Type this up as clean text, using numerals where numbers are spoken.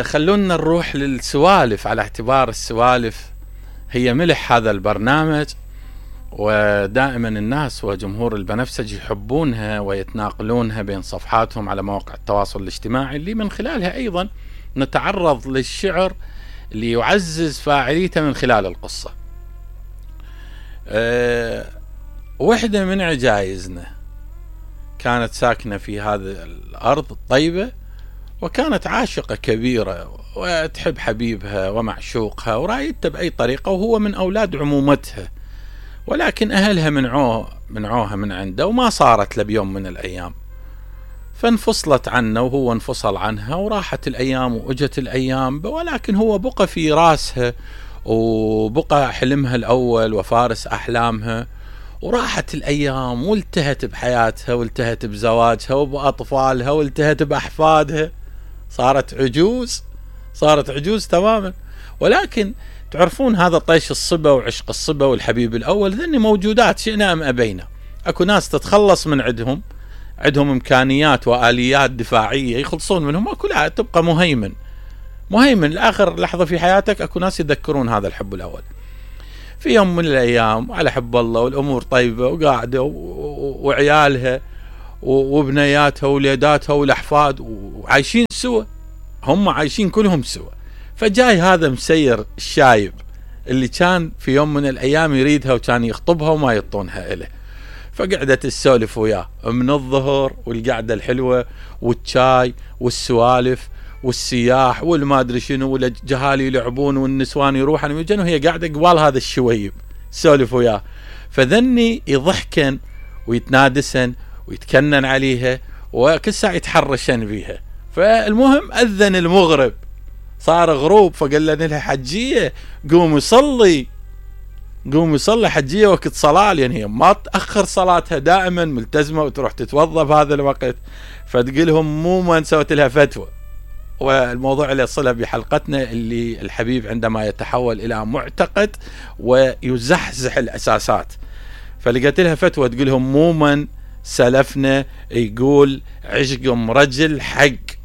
خلونا نروح للسوالف، على اعتبار السوالف هي ملح هذا البرنامج، ودائما الناس وجمهور البنفسجي يحبونها ويتناقلونها بين صفحاتهم على مواقع التواصل الاجتماعي، اللي من خلالها أيضا نتعرض للشعر اللي يعزز فاعليته من خلال القصة. وحدة من عجائزنا كانت ساكنة في هذه الأرض الطيبة، وكانت عاشقة كبيرة وتحب حبيبها ومعشوقها ورايدته بأي طريقة، وهو من أولاد عمومتها، ولكن أهلها منعوها من عنده، وما صارت له بيوم من الأيام، فانفصلت عنه وهو انفصل عنها، وراحت الأيام وأجت الأيام، ولكن هو بقى في راسها وبقى حلمها الأول وفارس أحلامها. وراحت الأيام والتهت بحياتها والتهت بزواجها وبأطفالها والتهت بأحفادها، صارت عجوز تماما. ولكن تعرفون هذا طيش الصبا وعشق الصبا والحبيب الأول ذني موجودات شئنا أم أبينا. أكو ناس تتخلص من عندهم إمكانيات وآليات دفاعية يخلصون منهم، أكو لا تبقى مهيمن لآخر لحظة في حياتك. أكو ناس يذكرون هذا الحب الأول في يوم من الأيام على حب الله والأمور طيبة وقاعدة وعيالها وبنياتها وولاداتها والأحفاد وعايشين سوا، هم عايشين كلهم سوا. فجاي هذا مسير الشايب اللي كان في يوم من الأيام يريدها وكان يخطبها وما يطونها إله، فقعدت السولف وياه من الظهر والقعدة الحلوة والشاي والسوالف والسياح والما ادري شنو، والجهالي يلعبون والنسوان يروحن ويجن، وهي قاعده قبال هذا الشويب سولف وياه. فذني يضحكن ويتنادسن ويتكنن عليها وكل ساعه يتحرشن بيها. فالمهم اذن المغرب، صار غروب، فقال لها حجيه قومي صلي حجيه وقت صلاه، لان هي ما تاخر صلاتها، دائما ملتزمه وتروح تتوضا بهذا الوقت. فتقول لهم مو ما سويت لها فتوى، والموضوع اللي صلها بحلقتنا اللي الحبيب عندما يتحول إلى معتقد ويزحزح الأساسات، فلقيت لها فتوى تقول لهم مو من سلفنا يقول عشق رجل حق